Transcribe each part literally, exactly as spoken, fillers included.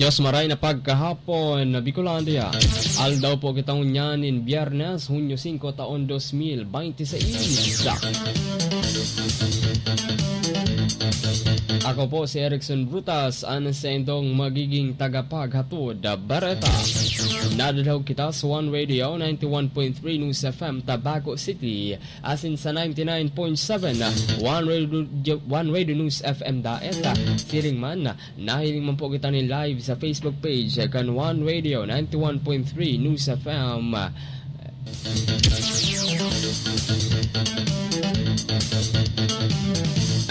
Dios maray na pagkahapon, Bicolandia. Aldaw po kita ngunyan nin Biyernes, Hunyo singko, taon dos mil bente seis. Ako po si Erickson Brutas, an saindong magiging tagapaghatod bareta. Nadadahog kita sa One Radio, ninety one point three News F M, Tabaco City, asin sa ninety nine point seven One Radio, One Radio News F M Daet. Siring man, nahiling man po kita nin live sa Facebook page kan One Radio ninety one point three News F M.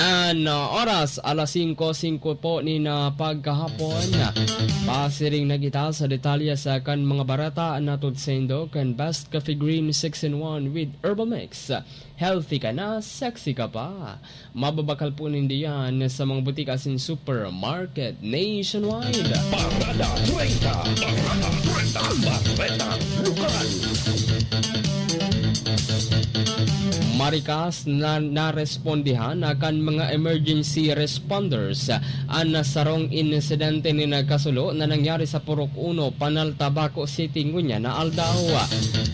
An, uh, oras, alas singko, singko po nin, uh, pagkahapon. Pasiring na kita sa detalye sa kan mga bareta na tutod saindo kan Best Coffee Green six in one with Herbal Mix. Healthy ka na, sexy ka pa. Mababakal po nindo yan sa mga butika asin supermarket nationwide. Parada treinta, Parada treinta, Bareta Lokal. Marikas na narespondihan na kan mga emergency responders an sarong insidente nin kasulo na nangyari sa Purok Uno, Panal, Tabaco City, ngunyan na aldaw.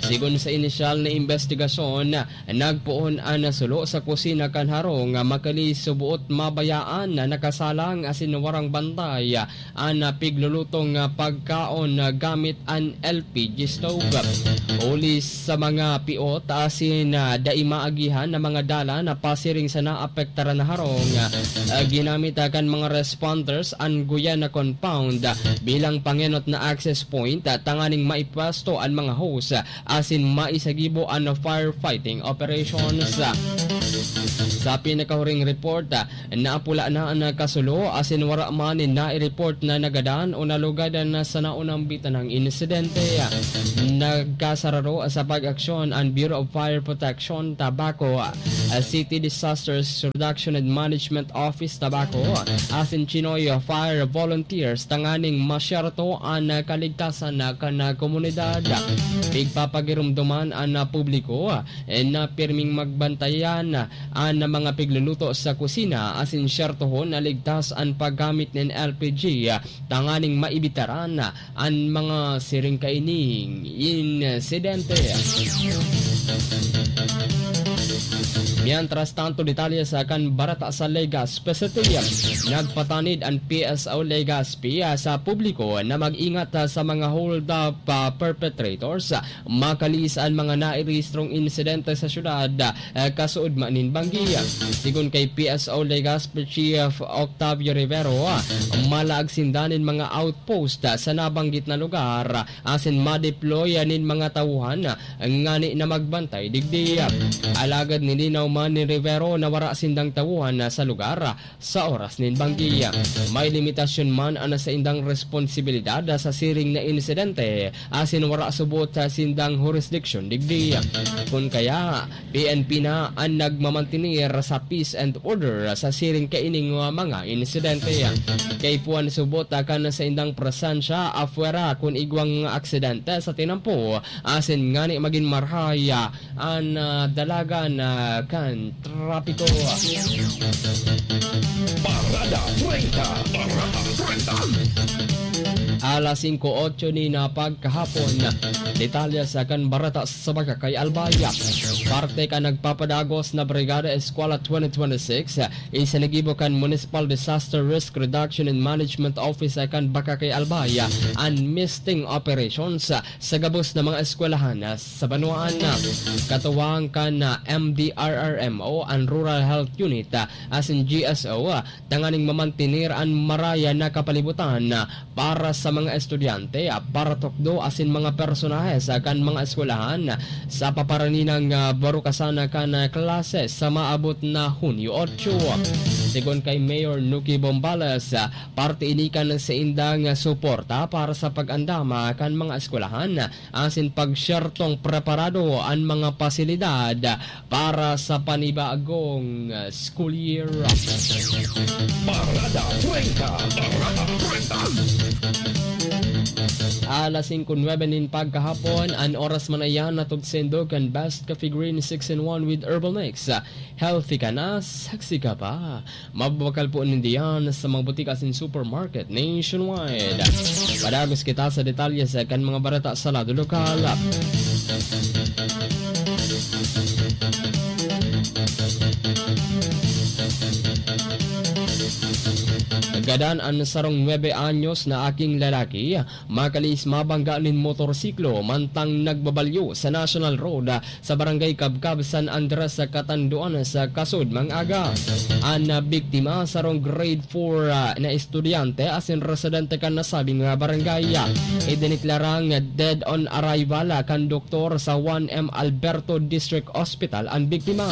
Sigon sa inisyal na imbestigasyon, nagpoon an sulo sa kusina kan harong, makalis suboot mabayaan na nakasalang asin warang bantay an piglulutong pagkaon gamit an L P G stove. Huli sa mga piot asin dai maagihan na mga dalan na pasiring sa naapektaran na harong, ginamit kan mga responders an Guyana compound bilang pangenot na access point tanganing maipwesto an mga hose asin maisagibo an firefighting operations. Sa pinakahuring report, naapula na an kasulo asin wara man nin nai-report na nagadan o nalugadan na sa naunang bitanang insidente. Nagkasararo sa pag-aksyon an Bureau of Fire Protection, Tabaco City Disasters Reduction and Management Office, Tabaco, asin Chinoy Fire Volunteers tanganing masyerto an kaligtasan kan komunidad. Pigpapagiromdoman an publiko na pirming magbantayan an mga pigluluto sa kusina asin syertohon na ligtas an paggamit nin L P G tanganing maibitaran an mga siring kaining insidente. Mientras tanto, detalye sa kan bareta sa Legazpi City. Nagpatanid an P S O Legazpi sa publiko na mag-ingat sa mga hold-up, ah, perpetrators. Makalis an mga nairehistrong insidente sa syudad, ah, kasuodma nin banggi. Sigon kay P S O Legazpi Chief Octavio Rivero, ah, malaag sinda nin mga outpost, ah, sa nabanggit na lugar, asin ma-deploy nin mga tawhan, ah, ngani na magbantay digdi. Alagad nilinaw man ni Rivero na wara sindang tawhan, ah, sa lugar, ah, sa oras nin banggi. May limitasyon man an saindang responsibilidad sa siring na insidente, asin wara subot sa sindang hurisdiksyon digdi. Kun kaya, P N P na an nagmamantener sa peace and order sa siring kaining mga insidente. Kaipuhan subot kan saindang presensya apwera kun igwang aksidente sa tinampo, asin ngani magin marahay an, ah, dalagan, ah, kan trapiko. Parada treinta, Parada treinta. Alas singko otso ni na pagkahapon. Detalye sa kan bareta sa Bacacay, Albay. Parte kan nagpapadagos na Brigada Eskwela twenty twenty-six, isinigibo kan Municipal Disaster Risk Reduction and Management Office kan Bacacay, Albay, an misting operations sa gabos na mga eskwelahan sa banwaan. Katuwang kan M D R R M o an Rural Health Unit asin G S O, tanganing mamantener an maraya na kapalibutan para sa mga estudyante, paratukdo asin mga personahe sa kan mga eskwelahan sa paparaninang, ah, barukasan kan klase sa maabot na Hunyo otso. Sigon kay Mayor Nuki Bombales, parte ini kan saindang suporta para sa pag-andam kan mga eskwelahan asin pagsyertong preparado an mga pasilidad para sa panibagong school year. Parada treinta, Parada treinta. Alas singko nuebe nin pagkahapon, an oras man na iyan, hatod saindo kan Best Coffee Green six in one with Herbal Mix. Healthy ka na, sexy ka pa. Mababakal po ninda yan sa mga butika asin supermarket nationwide. Padagos kita sa detalye sa kan mga bareta sa lado lokal. Gadan an sarong nuebe anyos na aking lalaki, makalis mabangga nin motorsiklo mantang nagbabalyo sa National Road sa Barangay Kabkab, San Andres, sa Catanduanes, sa kasod mang aga. An biktima, sarong grade four, ah, na estudyante asin residente kan nasabing, ah, barangay. Idineklarang dead on arrival, ah, kan doktor sa one M Alberto District Hospital an biktima.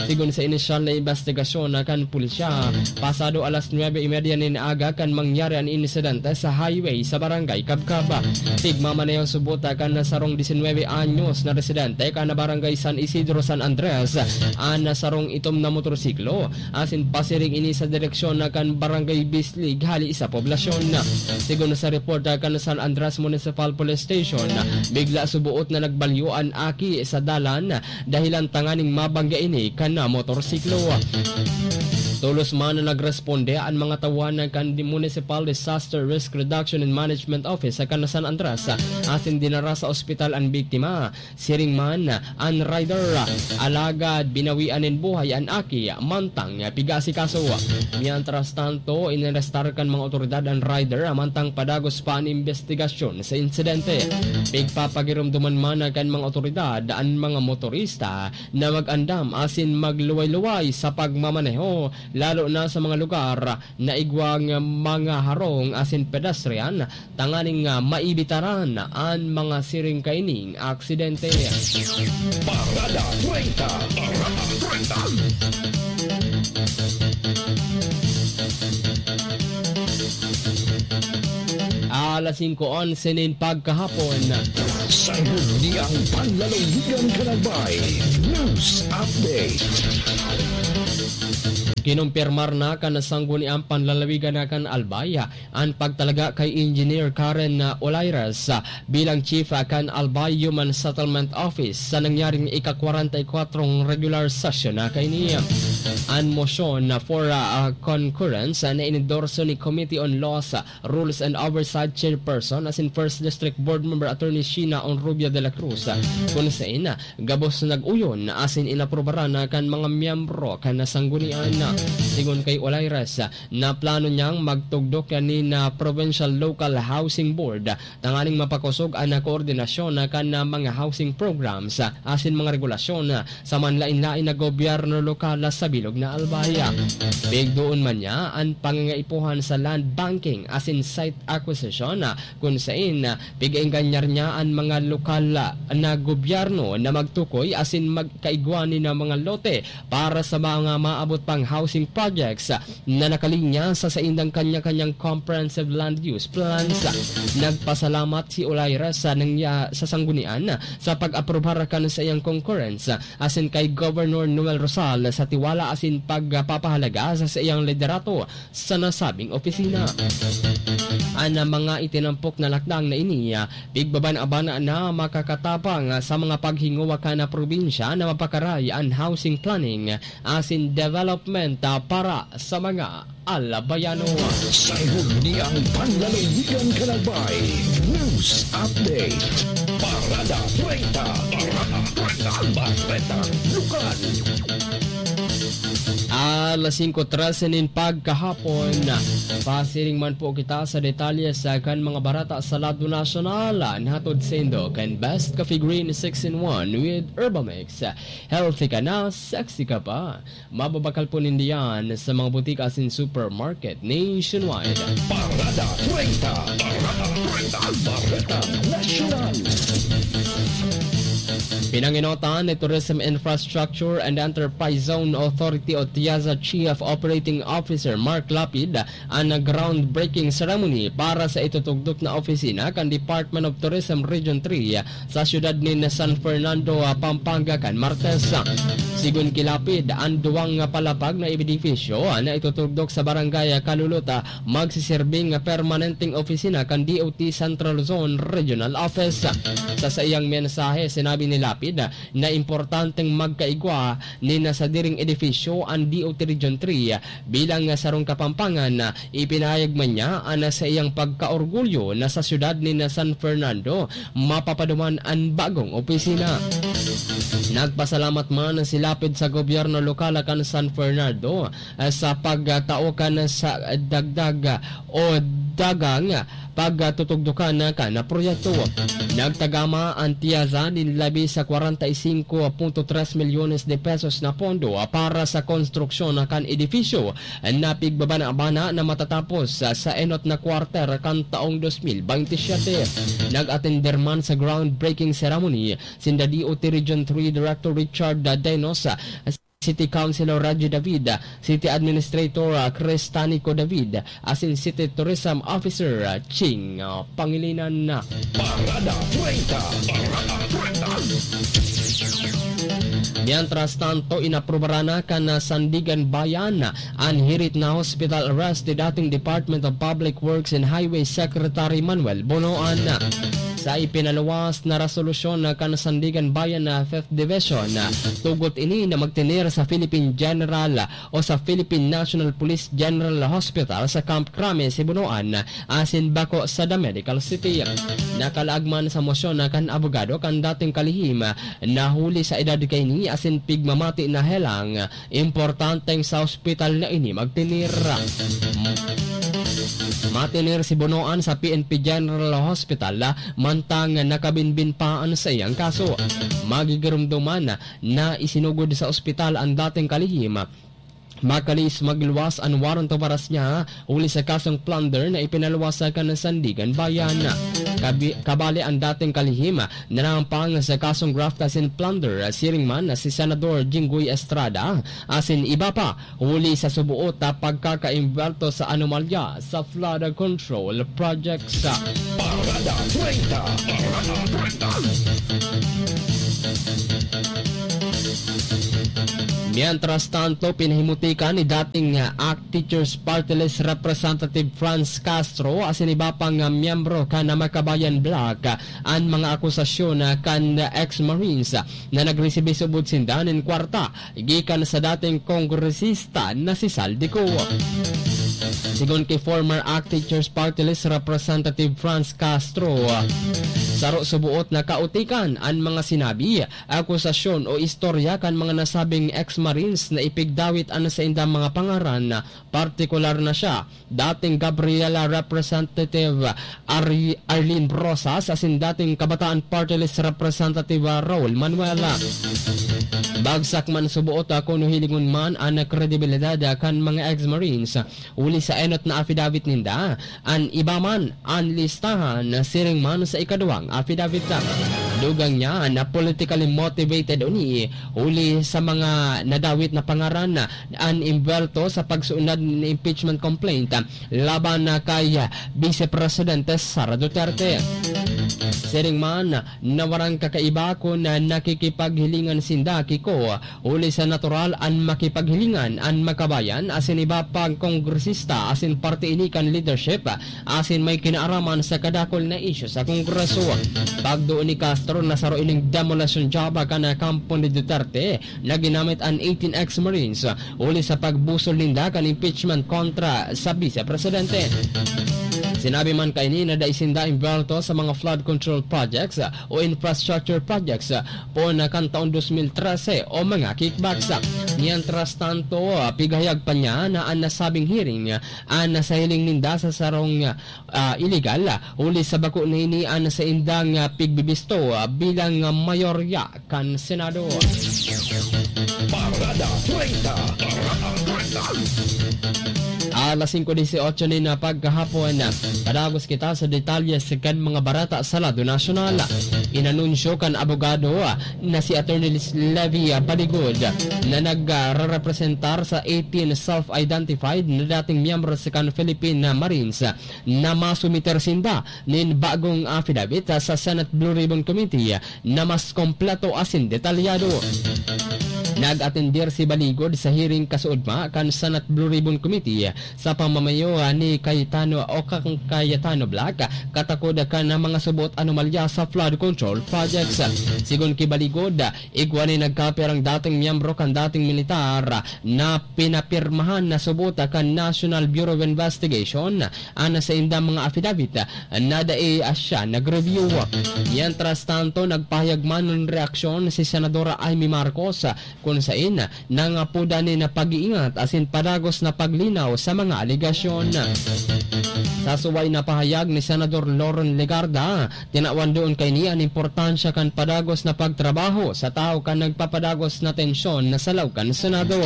Sigon sa inisyal na imbestigasyon, ah, kan pulisya, pasado alas nuebe y media nin aga kan mangyari an insidente sa highway sa Barangay Kabkab. Tigmamaneho subot, ah, kan sarong disinwebe anyos na residente kan Barangay San Isidro, San Andres, an sarong itom na motorsiklo, asin pasiring ini sa direksyon na kan Barangay Bislig, hali sa poblasyon. Sigon sa report, ah, kan San Andres Municipal Police Station, bigla suboot na nagbalyo an aki sa dalan, dahilan tanganing mabangga ini kan motorsiklo. Tolos man na nagresponde an mga tauhan kan Municipal Disaster Risk Reduction and Management Office sa kan San Andres, asin dinara sa ospital an biktima. Siring man an rider, alagad binawian nin buhay an aki mantang pigaasikaso. Mientras tanto, inarestar kan mga otoridad an rider mantang padagos pa an imbestigasyon sa insidente. Pigpapagiromdoman man kan mga otoridad an mga motorista na mag-andam asin magluway-luway sa pagmamaneho, lalo na sa mga lugar na igwang mga harong asin pedestrian, tanganing, ah, maibitaran an mga siring kaining aksidente. Parada treinta. Parada treinta. Alas singko onse nin pagkahapon. Sangguniang Panlalawigan kan Albay. News Update. Kinumpirmar na kan Sangguniang Panlalawigan na kan Albay an pagtalaga kay Engineer Karen, ah, Olaires, ah, bilang Chief, ah, kan Albay Human Settlement Office sa nangyaring ika-kwarenta y kwatrong regular session na kaini. An motion na for, ah, ah, concurrence, ah, na inendorso ni Committee on Laws, ah, Rules and Oversight Chairperson asin First District Board Member Attorney Sheena Onrubia de la Cruz, ah, kun sain, ah, gabos nag-uyon asin inaprubaran na kan mga miyembro kan sanggunian. Sigon kay Olaires, na plano niyang magtugdok nin Provincial Local Housing Board tanganing mapakosog an koordinasyon kan mga housing programs asin mga regulasyon sa manlaen-laen na gobyerno lokal sa bilog na Albay. Pigdoon man niya an pangangaipuhan sa land banking asin site acquisition, kun sain pig-eenganyar niya an mga lokal na gobyerno na magtukoy asin magkaigwa nin mga lote para sa mga maabot pang housing projects na nakalinya sa saindang kanya-kanyang comprehensive land use plans. Nagpasalamat si Olaires sa nangya-, sa sanggunian sa pag-aprobar kan saiyang concurrence asin kay Governor Noel Rosal sa tiwala asin pagpapahalaga sa saiyang liderato sa nasabing opisina. An mga itinampok na lakdang na ini, ah, pigbaban-aban na makakatabang sa mga paghingowa kan probinsya na mapakaray an housing planning asin development, ah, para sa mga Albayano. Sangguniang Panlalawigan kan Albay. News Update. Parada treinta. Parada treinta. Bareta Lokal. Alas singko trese nin pagkahapon. Pasiring man po kita sa detalye sa kan mga bareta sa lado nasyonal. Nahatod saindo kan Best Coffee Green six in one with Herbamix. Healthy ka na, sexy ka pa. Mababakal po ninda yan sa mga butika asin supermarket nationwide. Parada treinta. Parada treinta. Bareta Nasyonal. Pinanginotan ni Tourism Infrastructure and Enterprise Zone Authority o TIAZA Chief Operating Officer Mark Lapid an groundbreaking ceremony para sa itutugdok na opisina kan Department of Tourism Region three sa siyudad nin San Fernando, Pampanga, kan Martes. Sigon ki Lapid, an duwang nga palapag na edifisyo na itutugdok sa Barangay Kaluluta magsiserbing permanenteng opisina kan D O T Central Luzon Regional Office. Sa saiyang mensahe, sinabi ni Lapid na importanteng magkaigwa nin sadiring edifisyo an D O T Region three bilang sarong Kapampangan. Ipinahayag man niya an saiyang pagkaorgulyo na sa siyudad nin San Fernando mapapaduman an bagong opisina. Nagpasalamat man si Lapid sa gobyerno lokal kan San Fernando, ah, sa pagtao kan sa dagdag o dagang pagtutugdukan kan proyekto. Nagtagama an Tiaza nin labi sa kwarenta y singko punto tres milyones de pesos na pondo para sa konstruksyon kan edifisyo na pigbabana-bana na matatapos sa enot na kwarter kan taong dos mil bente siyete. Nag-atender man sa groundbreaking ceremony sinda D O T Region three Director Richard Denos, City Councilor Raji David, City Administrator Cristanico David, asin City Tourism Officer Ching Pangilinan. Parada treinta. Parada treinta. Mientras tanto, inaprubaran na kan Sandiganbayan an hirit na hospital arrest ni dating Department of Public Works and Highways Secretary Manuel Bonoan. Sa ipinaluwas na resolusyon kan Sandiganbayan na Fifth Division, tugot ini na magtener sa Philippine General o sa Philippine National Police General Hospital sa Camp Crame, Sibunoan, asin bako sa The Medical City. Nakalaag man sa mosyon kan abogado kan dating kalihim na huli sa edad kaini asin pigmamati na helang importanteng sa ospital na ini magtener. Matener si Bonoan sa P N P General Hospital, mantang nakabinbin pa an saiyang kaso. Magigiromdoman na isinugod sa ospital an dating kalihim. Makalis magluwas an warrant of arrest niya huli sa kasong plunder na ipinaluwas kan Sandiganbayan. Kabi-, kabali an dating kalihim na nahampang sa kasong graft asin plunder, siring man si Senador Jinggoy Estrada asin iba pa, huli sa subuot na pagkakaimbwelto sa anomalya sa flood control projects. Parada treinta. Parada treinta. Mientras tanto, pinahimutikan ni dating, ah, ACT Teachers Party List Representative Franz Castro asin iba pang, ah, miyembro kan Makabayan Bloc, ah, an mga akusasyon, ah, kan ex-Marines, ah, na nagresibi subod sinda nin kwarta gikan sa dating kongresista na si Zaldy Co. Sigon ki former ACT Teachers Party List Representative Franz Castro, saro suboot na kautikan an mga sinabi, akusasyon o istorya kan mga nasabing ex-Marines na ipigdawit an saindang mga pangaran, partikular na siya, dating Gabriela Representative Ar-, Arlene Brosas asin dating Kabataan Party List Representative Raul Manuela. Bagsak man suboot, ah, kun hilingon man an kredibilidad, ah, kan mga ex-Marines, ah, huli sa enot na affidavit ninda. An iba man, an listahan, siring man sa ikaduwang affidavit, ah, dugang niya na politically motivated ini, huli sa mga nadawit na pangaran, ah, an imbwelto sa pagsuunad nin impeachment complaint, ah, laban na kay, ah, Vice Presidente Sara Duterte. Siring man na warang kakaiba kun, ah, nakikipaghilingan sinda ki Co, huli sa natural an makipaghilingan an Makabayan asin iba pang kongresista asin parte ini kan leadership, ah, asin may kinaaraman sa kadakul na isyu sa Kongreso. Pagduon ni Castro na saro ining demolition job kan kampo ni Duterte, na ginamit an eighteen ex-Marines huli sa pagbusol ninda kan impeachment kontra sa Vice Presidente. Sinabi man kaini na dai sinda imbwelto sa mga flood control projects o infrastructure projects poon kan taon dos mil trese o mga kickbacks. Mientras tanto, pigahayag pa niya na an nasabing hearing, an sa hiling ninda sa sarong, ah, iligal, huli sa bako na ini an saindang, ah, pigbibisto, ah, bilang, ah, mayorya kan Senado. Parada treinta. Parada treinta. Alas singko dieciocho nin pagkahapon, padagos kita sa detalye kan mga bareta sa lado nasyonal. Inanunsyo kan abogado na si Attorney Levi Baligod na nagrerepresentar sa eighteen self-identified na dating miyembro sa kan Philippine Marines na masumiter sinda nin bagong affidavit sa Senate Blue Ribbon Committee na mas kompleto asin detalyado. Nag-atender si Baligod sa hearing kasuodma kan Senate Blue Ribbon Committee sa pamamayo ni Cayetano o kan Cayetano Bloc, katakod kan mga subot anomalya sa flood control projects. Sigon ki Baligod, igwa ni nagkapirang dating miyembro kan dating militar na pinapirmahan na subot kan National Bureau of Investigation an saindang mga affidavit na dai siya nag-review. Mientras tanto, nagpahayag man nin reaksyon si Senadora Imee Marcos, kun sain nangapodan nin pag-iingat asin padagos na paglinaw sa mga alegasyon. Sa suway na pahayag ni Senador Loren Legarda, tinawan duon kaini an importansya kan padagos na pagtrabaho sa tawo kan nagpapadagos na tensyon na sa laog kan Senado.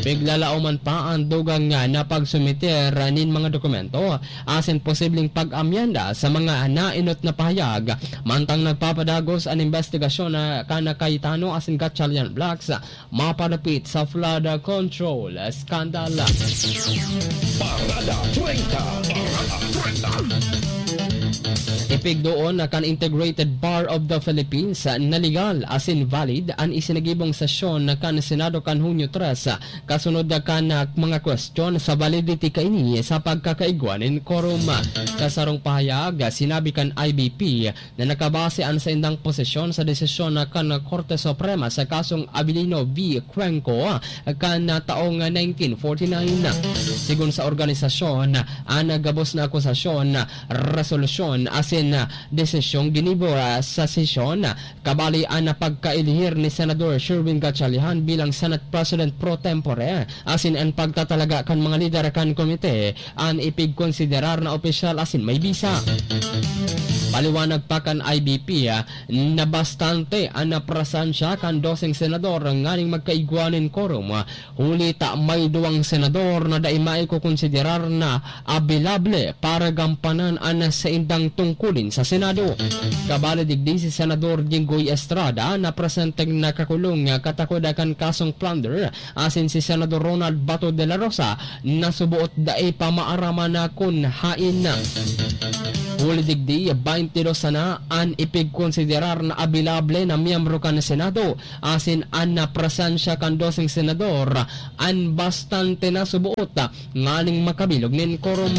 Piglalaoman pa an dugang na pagsumiter nin mga dokumento asin posibleng pag-amyenda sa mga naenot na pahayag, mantang nagpapadagos an imbestigasyon na kan Cayetano asin Gatchalian Blocs mapadapit sa flood control scandal. Parada treinta. Parada treinta. Ipigdoon na kan Integrated Bar of the Philippines na legal asin valid an isinagibong sesyon na kan Senado kan Hunyo tres, kasunod na kan mga kwestiyon sa validity kaini sa pagkakaigwa nin quorum. Sa sarong pahayag, sinabi kan I B P na nakabase an saindang posisyon sa desisyon na kan Korte Suprema sa kasong Abilino v Cuenco kan taong nineteen forty-nine. Sigon sa organisasyon, an gabos na akusasyon, resolusyon asin desisyong ginibo sa sesyon, kabali an pagkaelihir ni Senador Sherwin Gatchalian bilang Senate President pro tempore asin an pagtatalaga kan mga lider kan komite an ipigkonsiderar na opisyal asin may bisa. Paliwanag pa kan I B P, ah, na bastante an presensiya kan doseng senador nganing magkaigwa nin quorum, ah, huli ta may duwang senador na dai maikokonsiderar na abilable para gampanan an saindang tungkulin sa Senado. Kabali digdi si Senador Jinggoy Estrada na presenteng nakakulong katakod kan kasong plunder, asin si Senador Ronald Bato de la Rosa na suboot dai pa maaraman na kun haen na. Huli digdi, baynte dos sana an ipigkonsiderar na abilable na miyembro kan Senado, asin an napresensiya kan doseng senador an bastante na suboot nganing makabilog nin quorum.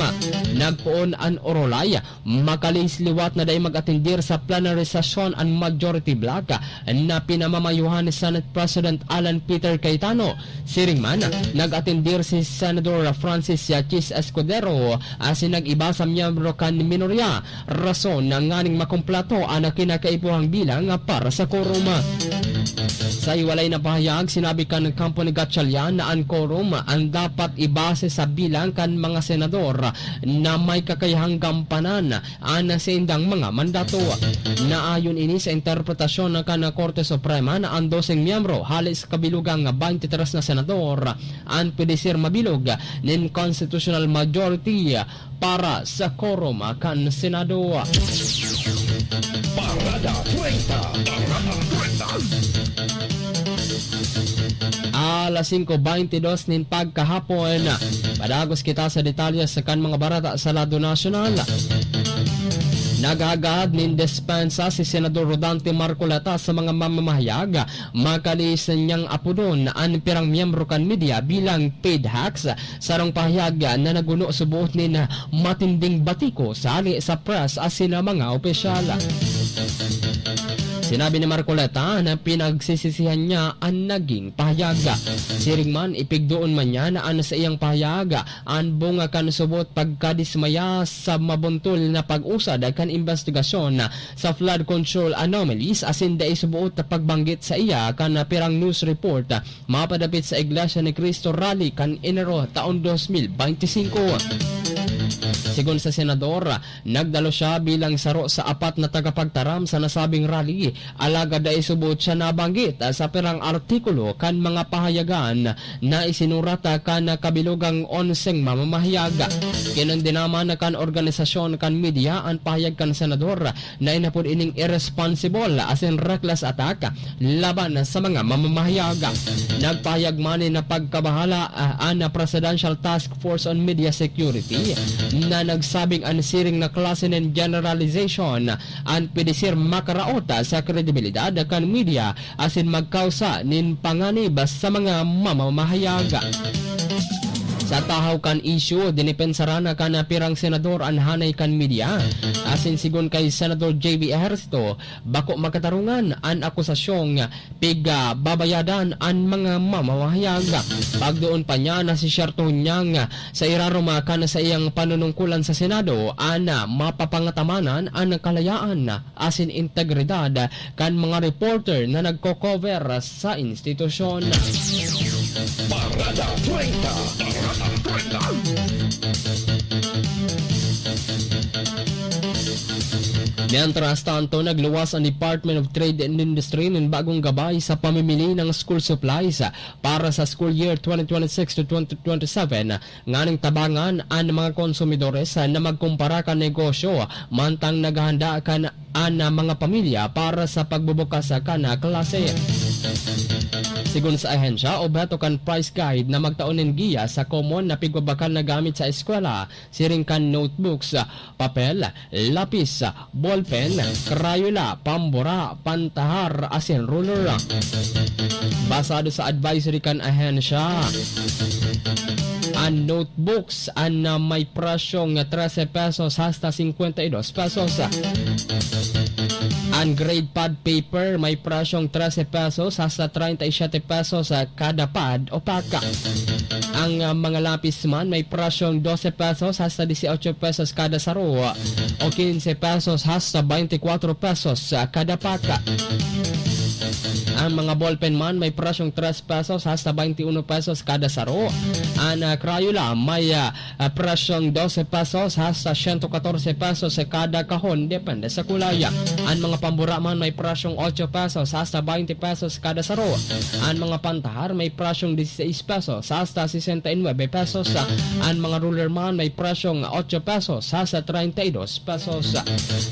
Nagpoon an orolay, makalihis liwat na dai mag-atendir sa plenary session an majority bloc na pinamamayohan ni Senate President Alan Peter Cayetano. Siring man, nag-atendir si Senador Francis Yachis Escudero asin nag-iba sa miyembro kan minorya, rason na nganing makumpleto an kinakaipuhang bilang para sa quorum. Sa hiwalay na pahayag, sinabi kan kampo ni Gatchalian na an quorum an dapat ibase sa bilang kan mga senador na may kakayahang gampanan an saindang mga mandato. Naayon ini sa interpretasyon kan Korte Suprema na an doseng miyembro hale sa kabilogang baynte tres na senador an pwede ser mabilog nin constitutional majority para sa quorum kan Senado. Parada treinta. Parada treinta. Alas singko baynte dos nin pagkahapon. Padagos kita sa detalye sa kan mga bareta sa lado nasyonal. Naghagad nin dispensa si Senador Rodante Marcoleta sa mga mamamahayag, makalihis niyang apodon an pirang miyembro kan media bilang paid hacks, sarong pahayag na naguno suboot nin matinding batikos hale sa press asin mga opisyal. Sinabi ni Marcoleta na pinagsisisihan niya an naging pahayag. Siring man, ipigdoon man niya na an saiyang pahayag an bunga kan suboot pagkadismaya sa mabuntol na pag-usad kan imbestigasyon sa flood control anomalies asin dai suboot na pagbanggit sa iya kan pirang news report mapadapit sa Iglesia ni Cristo Rally kan Enero taon dos mil baynte singko. Sigon sa senador, nagdalo siya bilang saro sa apat na tagapagtaram sa nasabing rally, alagad dai suboot siya nabanggit sa pirang artikulo kan mga pahayagan na isinurat kan kabilogang onseng mamamahayag. Kinondena man kan organisasyon kan media an pahayag kan senador na inapod ining irresponsible asin reckless attack laban sa mga mamamahayag. Nagpahayag man na pagkabahala, ah, an Presidential Task Force on Media Security na Nagsabing an siring na klase nin generalization an pwede ser makaraot sa kredibilidad kan media asin magkausa nin panganib sa mga mamamahayag. Sa tahaw kan isyu, dinipensaran kan pirang senador an hanay kan media. Asin sigon kay Senador J B Ejercito, bako makatarungan an akusasyong pigbabayadan an mga mamamahayag. Pagdoon pa niya, nasisyerto niyang sa irarom kan saiyang panunungkulan sa Senado an mapapangatamanan an kalayaan asin integridad kan mga reporter na nagko-cover sa institusyon. Parada treinta. Parada treinta. Mientras tanto, nagluwas ang Department of Trade and Industry nin bagong gabay sa pamimili ng school supplies para sa school year twenty twenty-six to twenty twenty-seven, nganing tabangan an mga konsumidores na magkumpara kan negosyo, mantang naghahanda kan an mga pamilya para sa pagbubukas kan klase. Sigon sa ahensya, obheto kan price guide na magtao nin giya sa common na pigbabakal na gamit sa eskwela, siring kan notebooks, papel, lapis, ballpen, crayola, pambura, pantahar, asin ruler. Basado sa advisory kan ahensya, an notebooks an, ah, may presyong trese pesos hasta cincuenta y dos pesos. An grade pad paper may presyong trese pesos hasta treinta y siete pesos, ah, kada pad o pack. Ang, ah, mga lapis man may presyong doce pesos hasta dieciocho pesos kada saro o quince pesos hasta veinticuatro pesos, ah, kada pack. Ang mga ballpen man may presyong tres pesos hasta veintiuno pesos kada saro. An, ah, Crayola may, ah, ah, presyong doce pesos hasta ciento catorce pesos kada kahon, depende sa kulay. An mga pambura man may presyong ocho pesos hasta veinte pesos kada saro. An mga pantahar may presyong dieciséis pesos hasta sesenta y nueve pesos. An mga ruler man may presyong ocho pesos hasta treinta y dos pesos.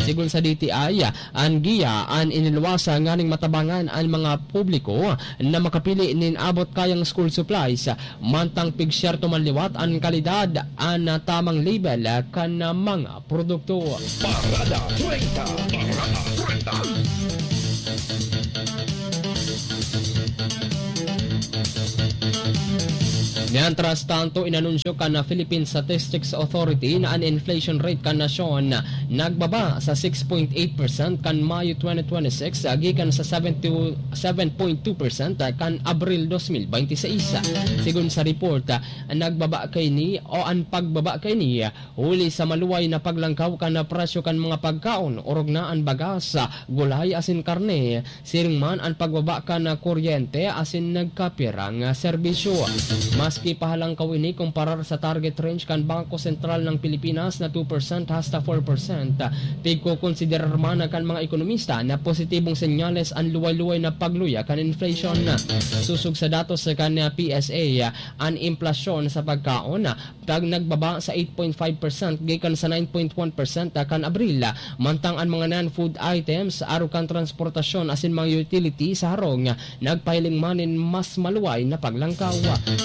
Sigon sa D T I, an giya an iniluwas nganing matabangan an mga publiko na makapili nin abot kayang school supplies, mantang pigsyerto man liwat an kalidad, an tamang label kan mga produkto. Parada treinta. Parada treinta. Mientras tanto, inanunsyo kan Philippine Statistics Authority na an inflation rate kan nasyon nagbaba sa six point eight percent kan Mayo twenty twenty-six, gikan sa seven to, seven point two percent kan Abril dos mil bente seis. Sigon sa report, nagbaba kaini o an pagbaba kaini huli sa maluway na paglangkaw kan presyo kan mga pagkaon, orog na an bagas, gulay asin karne, siring man an pagbaba kan kuryente asin nagkapirang serbisyo. Maski pahalangkaw ini kumparar sa target range kan Bangko Sentral ng Pilipinas na two percent hasta four percent, pigkokonsiderar man kan mga ekonomista na positibong senyales an luway-luway na pagluya kan inflation. Sosog sa datos kan P S A, an implasyon sa pagkaon pag nagbaba sa eight point five percent gikan sa nine point one percent kan Abril, mantang an mga non-food items, arog kan transportasyon asin mga utility sa harong, nagpahiling man nin mas maluway na paglangkaw.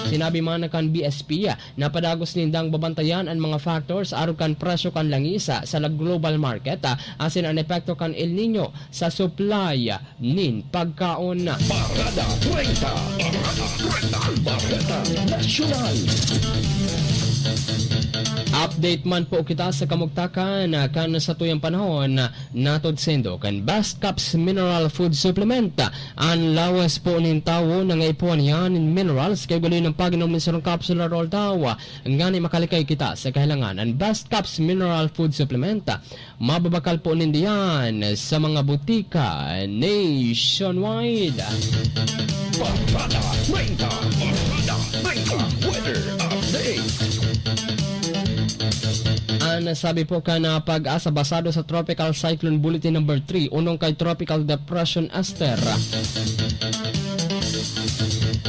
Sinabi man kan B S P na padagos nindang babantayan an mga factors arog kan presyo kan langis sa global market, asin an epekto kan El Niño sa supply nin pagkaon. Parada treinta. Parada treinta. Parada Nasyonal. Update man po kita sa kamugtakan kan satuyang panahon, natod saindo kan Best Caps Mineral Food Supplement. An lawas po nin tawo nangaipuhan niya nin minerals kay gali ng pag-inom nin sarong capsule or all daw. Ngani makalikay kita sa kahilangan. An Best Caps Mineral Food Supplement, mababakal po nindo yan sa mga butika nationwide. Barkada treinta, Barkada treinta, weather update. An sabi po kan, ah, PAGASA, basado sa Tropical Cyclone Bulletin Number Three, unong kay Tropical Depression Esther,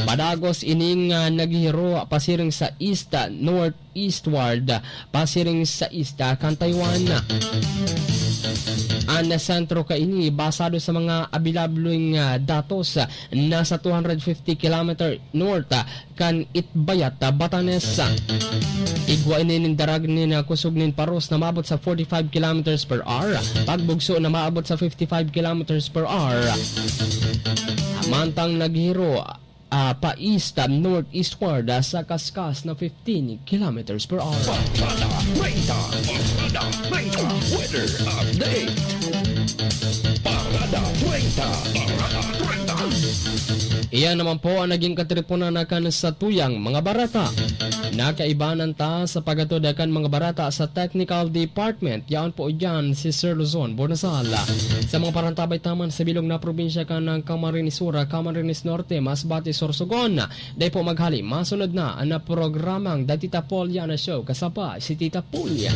padagos ining, ah, naghihiro pasiring sa east, ah, north, eastward, pasiring sa east kan Taiwan. Ang sentro kaini, basado sa mga abilableng, ah, datos, ah, nasa two hundred fifty kilometer north, ah, kan Itbayat, ah, Batanes. Igwa ini nin darag nin, ah, kusog nin paros na maabot sa forty-five kilometers per hour, pagbugso na maabot sa fifty-five kilometers per hour. Mantang naghiro, ah, pa-east, ah, northeastward, ah, sa kaskas na fifteen kilometers per hour. Barkada treinta, Barkada treinta, weather update. Barkada treinta, Barkada treinta. Iyan naman po ang naging katipunan na kan satuyang mga bareta. Nakaibanan ta sa paghatod kan mga bareta sa technical department. Yaon po iyan si Sir Luzon Bonasal. Sa mga parantabay taman sa bilog na probinsya kan Camarines Sur, Camarines Norte, Masbate, Sorsogon, dai po maghali, masunod na an programang The Tita Polia na Show, kasabay si Tita Polia.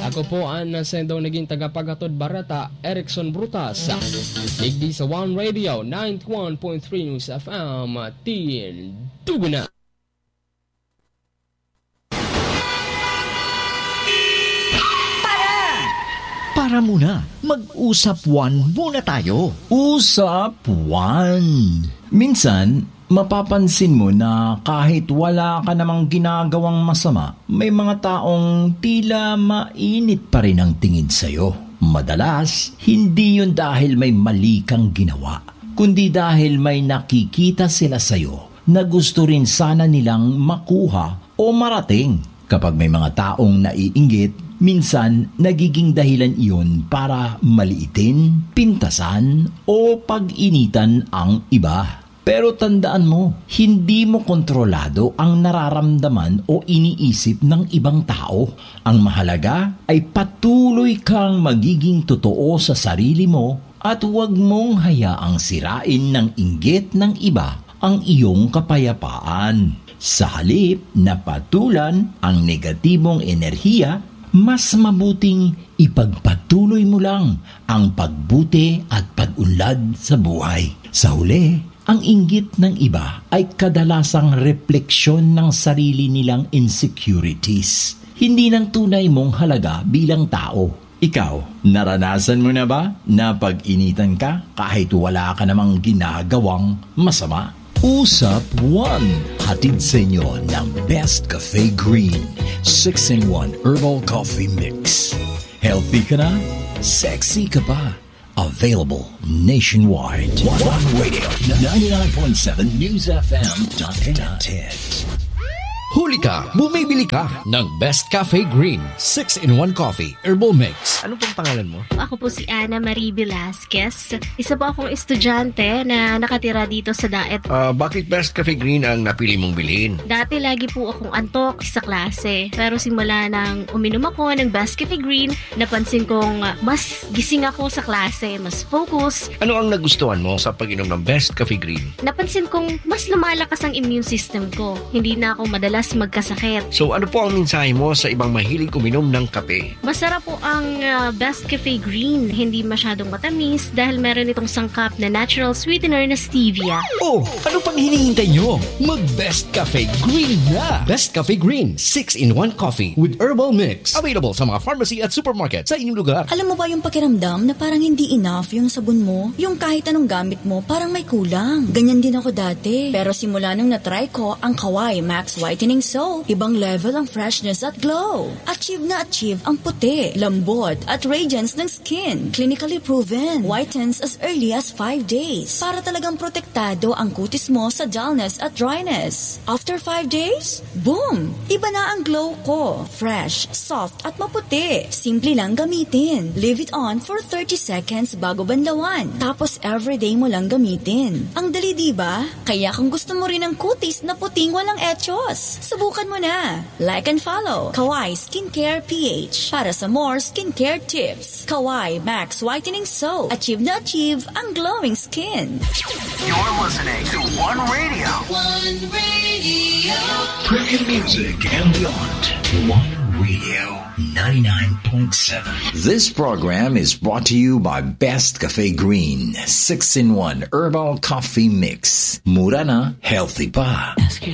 Ako po an sendong naging tagapaghatod bareta, Erickson Brutas. Digdi sa One Radio, ninety-one point three News F M, Tindugo na. Para muna, mag-usap one muna tayo. Usap one. Minsan, mapapansin mo na kahit wala ka namang ginagawang masama, may mga taong tila mainit pa rin ang tingin sa'yo. Madalas, hindi yun dahil may mali kang ginawa, kundi dahil may nakikita sila sa'yo na gusto rin sana nilang makuha o marating. Kapag may mga taong naiinggit, minsan nagiging dahilan iyon para maliitin, pintasan, o pag-initan ang iba. Pero tandaan mo, hindi mo kontrolado ang nararamdaman o iniisip ng ibang tao. Ang mahalaga ay patuloy kang magiging totoo sa sarili mo at huwag mong hayaang sirain ng inggit ng iba ang iyong kapayapaan. Sa halip na patulan ang negatibong enerhiya, mas mabuting ipagpatuloy mo lang ang pagbuti at pag-unlad sa buhay. Sa huli, ang inggit ng iba ay kadalasang refleksyon ng sarili nilang insecurities, hindi ng tunay mong halaga bilang tao. Ikaw, naranasan mo na ba na pag-initan ka kahit wala ka namang ginagawang masama? Usap one, hatid sa inyo ng Best Cafe Green, six-in-one Herbal Coffee Mix. Healthy ka na, sexy ka pa. Available nationwide. One Radio, ninety-nine point seven News F M. Huli ka, bumibili ka ng Best Cafe Green six-in-one Coffee Herbal Mix. Ano pong pangalan mo? Ako po si Ana Marie Velasquez. Isa po akong estudyante na nakatira dito sa Daet. Ah, bakit Best Cafe Green ang napili mong bilhin? Dati lagi po akong antok sa klase. Pero simula nang uminom ako ng Best Cafe Green, napansin kong, ah, mas gising ako sa klase, mas focus. Ano ang nagustuhan mo sa pag-inom ng Best Cafe Green? Napansin kong mas lumalakas ang immune system ko. Hindi na ako madalas magkasakit. So, ano po ang mensahe mo sa ibang mahilig uminom ng kape? Masarap po ang, ah, Best Cafe Green. Hindi masyadong matamis dahil meron itong sangkap na natural sweetener na stevia. Oh, ano pang hinihintay nyo? Mag Best Cafe Green na! Best Cafe Green, six-in-one Coffee with Herbal Mix. Available sa mga pharmacy at supermarket sa inyong lugar. Alam mo ba yung pakiramdam na parang hindi enough yung sabon mo? Yung kahit anong gamit mo, parang may kulang. Ganyan din ako dati. Pero simula nung na-try ko ang Kawai Max Whitening Soap, ibang level ang freshness at glow. Achieve na achieve ang puti, lambot, at radiance ng skin. Clinically proven. Whitens as early as five days. Para talagang protektado ang kutis mo sa dullness at dryness. After five days, boom! Iba na ang glow ko. Fresh, soft, at maputi. Simple lang gamitin. Leave it on for thirty seconds bago banlawan. Tapos everyday mo lang gamitin. Ang dali, di ba? Kaya kung gusto mo rin ang kutis na puting walang echos, subukan mo na. Like and follow Kawai Skincare P H para sa more skincare tips. Kawai Max Whitening Soap. Achieve na achieve ang glowing skin. You're listening to One Radio. One Radio. Premium music and beyond. One Radio, ninety-nine point seven. This program is brought to you by Best Cafe Green, six-in-one Herbal Coffee Mix. Mura na, healthy pa. Ask yourself